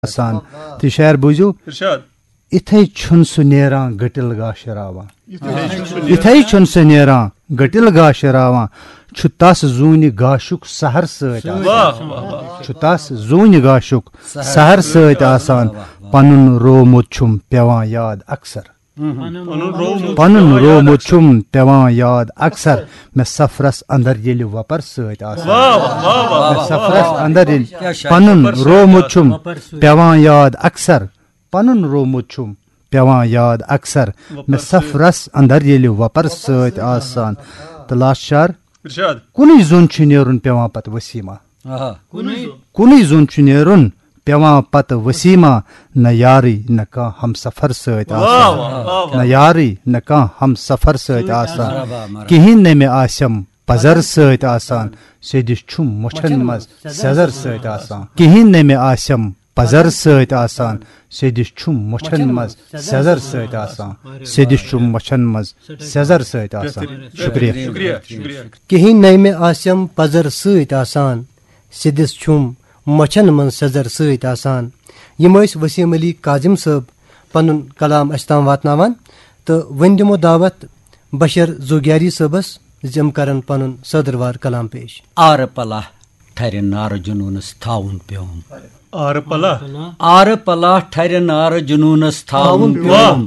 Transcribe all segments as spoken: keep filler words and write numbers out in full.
آسان۔ تہٕ شعر بوٗزِو۔ ارشاد۔ اِتھَے چھُنہٕ سُہ نیران گٔٹِل گاشہِ راوان۔ یِتھَے چھُنہٕ سُہ اِتھَے چھُنہٕ سُہ نیران گٔٹِل گاشہِ راوان۔ چھُ تَس زوٗنہِ گاشُک سحر سۭتۍ آسان۔ واہ واہ واہ۔ چھُ تَس زوٗنہِ گاشُک سحر سۭتۍ آسان۔ پَنُن روومُت چھُم پٮ۪وان یاد اکثر۔ پنُن روومُت پَنُن روومُت چھُم پٮ۪وان یاد اکثر۔ مےٚ سفرس اندر ییٚلہِ وۄپر سۭتۍ آسان۔ واہ واہ واہ واہ مےٚ واہ۔ سفرس اندر ییٚلہِ کیٛاہ شاعر۔ پَنُن روومُت چھُم پٮ۪وان یاد اکثر۔ پَنُن روومُت چھُم پٮ۪وان یاد اکثر۔ مےٚ سفرس اندر ییٚلہِ وۄپر سۭتۍ آسان۔ تہٕ لاسٹ شعر۔ ارشاد۔ کُنُے زوٚن چھُ نیرُن پٮ۪وان پتہٕ وسیٖما۔ آہا۔ کُنُے زوٚن چھُ نیرُن پٮ۪وان پتہٕ وسیٖما۔ نہ یارٕے نہ کانٛہہ ہمسفر سۭتۍ واہ آسان۔ واہ واہ واہ۔ نہ یارٕے نہ کانٛہہ ہمسفر سۭتۍ آسان۔ مرحبا، مرحبا۔ کِہیٖنۍ نہٕ مےٚ آسٮ۪م پزر سۭتۍ آسان۔ سیٚدِس چھُم مۄچھن منٛز سٮ۪زر سۭتۍ آسان۔ کِہیٖنۍ نہٕ مےٚ آسٮ۪م پزر سۭتۍ آسان۔ سیٚدِس چھُم مۄچھن منٛز سٮ۪زر سۭتۍ آسان۔ سیٚدِس چھُم مۄچھن منٛز سٮ۪زر سۭتۍ آسان۔ شُکریہ۔ شُکریہ شُکریہ۔ کِہیٖنۍ نَے مےٚ آسٮ۪م پَزر سۭتۍ آسان، سیٚدِس چھُم مۄچھَن منٛز سٮ۪زر سۭتۍ آسان۔ یِم ٲسۍ وسیٖم علی کاظم صٲب پَنُن کلام اَسہِ تام واتناوان۔ تہٕ وۄنۍ دِمو دعوت بشر زوگیاری صٲبَس زِ یِم کَرَن پَنُن صٲدٕروار کلام پیش۔ آرٕ پلہ ٹھرِ نارٕ جنوٗنس تھاوُن پیوم۔ آرٕ پلہ۔ آرٕ پلہ ٹھرِ نارٕ جنوٗنس تھاوُن واہ۔ پیوم۔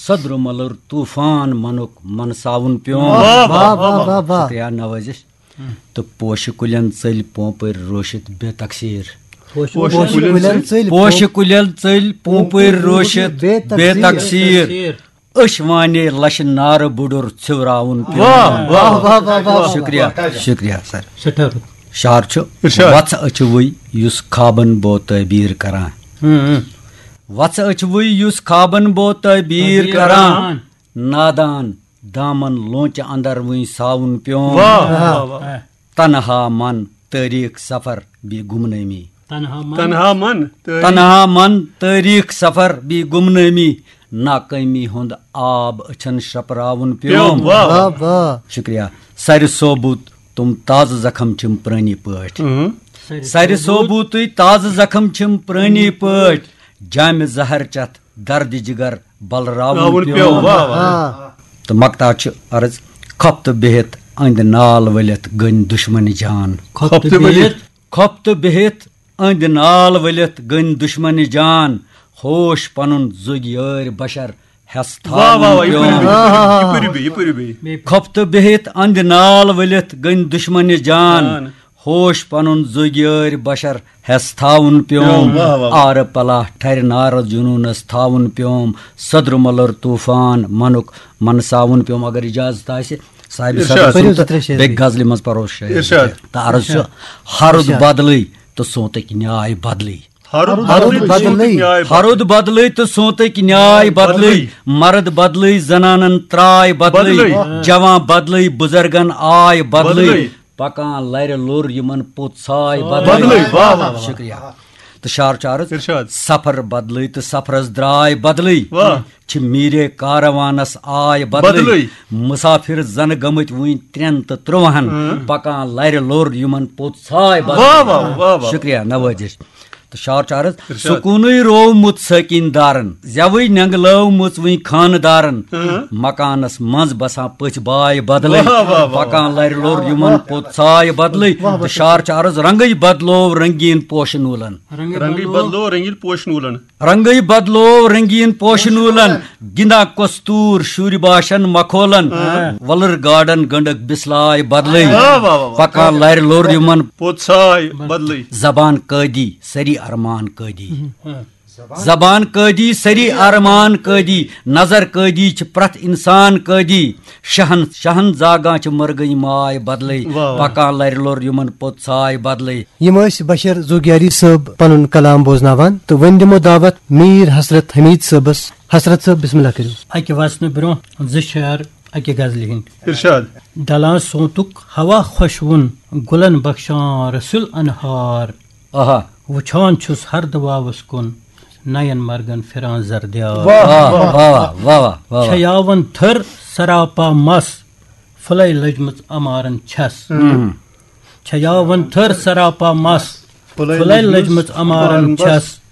صدر ملر طوفان منُک منساوُن پیوم۔ واہ واہ واہ واہ واہ۔ شکریہ نوازش۔ تہٕ پوشہِ کُلٮ۪ن ژٔلۍ پوپٕرۍ روشِتھ بے تقسیٖر۔ پوشہِ کُلٮ۪ن ژٔلۍ۔ پوشہِ کُلٮ۪ن ژٔلۍ پوپٕرۍ روشِتھ بے تقسیٖر۔ أچھ وانے لشہِ نارٕ بُڈُر ژھِوراوُن پیوم۔ واہ واہ واہ واہ واہ۔ شکریہ۔ شکریہ سر۔ سٮ۪ٹھاہ رُت۔ شعر چھُ ارشاد۔ وژھ أچھوٕے یُس خوابن بو تعبیٖر کران۔ وژھ أچھوٕے یُس خوابن بو تعبیٖر کران۔ نادان دامن لونچہِ اندر وٕنۍ ساوُن پیوم۔ واہ واہ واہ۔ تنہا من تٲریٖخ سفر بیٚیہِ گمنٲمی۔ تنہا من۔ تنہا من تٲریٖخ۔ تنہا من تٲریٖخ سفر بیٚیہِ گمنٲمی۔ ناکٲمی ہُنٛد آب أچھن شرپراوُن پیوم۔ پیوم۔ واہ واہ۔ واہ واہ۔ شکریہ۔ سرِ ثوبوٗت تِم تازٕ زخم چھِم پرٲنی پٲٹھۍ۔ اۭں۔ سرِ ثوبوٗتٕے تازٕ زخم چھِم پرٲنی پٲٹھۍ۔ جامہِ زہر چتھ دردِ جگر بلراوُن راوُن پیوم۔ پیوم۔ واہ واہ۔ آ۔ تہٕ مقطع چھُ عرض، کھۄپتہٕ بِہِتھ أنٛدۍ نال ؤلِتھ گٔنۍ دُشمنہِ جان۔ کھۄپتہٕ ؤلِتھ۔ کھۄپتہٕ بِہِتھ أنٛدۍ نال ؤلِتھ گٔنۍ دُشمنہِ جان۔ ہوش پنُن زُگۍ یٲرۍ بشر ہٮ۪س واہ واہ واہ۔ تھاوُن یہِ پٔرِو پیوم۔ بیٚیہِ، یہِ پٔرِو بیٚیہِ، یہِ پٔرِو بیٚیہِ۔ کھۄپتہٕ بِہِتھ أنٛدۍ نال ؤلِتھ گٔنۍ دُشمنہِ جان۔ جان۔ ہوش پنُن زُگۍ یٲرۍ بشر ہٮ۪س تھاوُن پیوم۔ واہ واہ۔ آرٕ پلہ ٹھرِ نارٕ جنوٗنس تھاوُن پیوم۔ صدر ملر طوفان منُک منساوُن پیوم۔ اگر اجازت آسہِ، صاحبِ ارشاد۔ صدر پٔرِو سُنٛد زٕ ترٛےٚ شعر بیٚیہِ بیٚیہِ۔ غزلہِ منٛز پروس شٲعر۔ ارشاد۔ تہٕ عرض چھُ، ہرُد بدلٕے تہٕ سونتٕکۍ نیاے بدلٕے۔ ہرُد ہرُد بدلٕے بدلٕے۔ نیاے ہرُد بدلٕے تہٕ سونتٕکۍ نیاے بدلٕے۔ بدلٕے۔ مرد بدلٕے، زنانن تراے بدلٕے۔ بدلٕے۔ جوان بدلٕے، بزرگن آے بدلٕے۔ بدلٕے۔ پکان لرِ لوٚر یِمن پوٚت ژھاے بدلٕے۔ واہ واہ واہ۔ شکریہ۔ تہٕ شعر چھُ عرض، ارشاد۔ سفر بدلٕے تہٕ سفرس درٛاے بدلٕے۔ واہ۔ چھِ میٖرے کاروانس آے بدلٕے۔ بدلٕے۔ مسافر زن گٔمٕتۍ وُنہِ ترٛٮ۪ن تہٕ ترٛوہن۔ پکان لرِ لوٚر یِمن پوٚت ژھاے بدلٕے۔ واہ واہ واہ واہ۔ شکریہ نوازش۔ تہٕ شعر چھُ عرض، ارشاد۔ سکوٗنٕے روومُت سٲکِن دارن، زٮ۪وٕے نٮ۪نٛگلٲومٕژ وٕنۍ خانہٕ دارن۔ مکانس منٛز بسان پٔژھۍ باے بدلٕے۔ واہ واہ واہ۔ پکان لرِ لوٚر یِمن پوٚت ژھاے بدلٕے۔ تہٕ شعر چھُ عرض، رنگٕے بدلوو رنگیٖن پوشہٕ نوٗلن۔ رنگٕے بدلو رنگیٖن پوشہٕ نوٗلن۔ رنگٕے بدلوو رنگیٖن پوشہٕ نوٗلن۔ گِنٛدان کستوٗر شُرۍ باشن مکھولن۔ وۄلُر گاڈن گنڈٕک بسلاے بدلٕے۔ واہ واہ واہ واہ۔ پکان لرِ لوٚر یِمن۔ پوٚت ژھاے بدلٕے۔ زبان قٲدی سری ارمان قٲدی۔ زبان قٲدی سری ارمان قٲدی۔ نظر قٲدی چھِ پرٛٮ۪تھ انسان قٲدی۔ شہن شہن زاگان چھِ مرگٕنۍ ماے بدلٕے۔ واہ واہ۔ پکان لرِ لوٚر یِمن پوٚت ژھاے بدلٕے۔ یِم ٲسۍ بشر زوگیاری صٲب پنُن کلام بوزناوان، تہٕ وۄنۍ دِمو دعوت میٖر حسرت حمید صٲبس۔ حسرت صٲب، بسم اللہ کٔرِو۔ اکہِ وژنہٕ برونٛہہ زٕ شعر اکہِ غزلہِ ہٕنٛدۍ۔ ارشاد۔ ڈلان سونتُک ہوا خۄشوُن، گُلن بخشان رسُل انہار۔ آہا۔ وُچھان چھُس ہردٕ واوس کُن، نین مرگن پھران زردیار۔ واہ واہ واہ واہ واہ واہ۔ چھیاون تھٔر سراپا مس، پھُلے لٔجمٕژ امارن چھس۔ چھیاون تھٔر سراپا مس، پھُلے لٔجمٕژ عمارن چھَس۔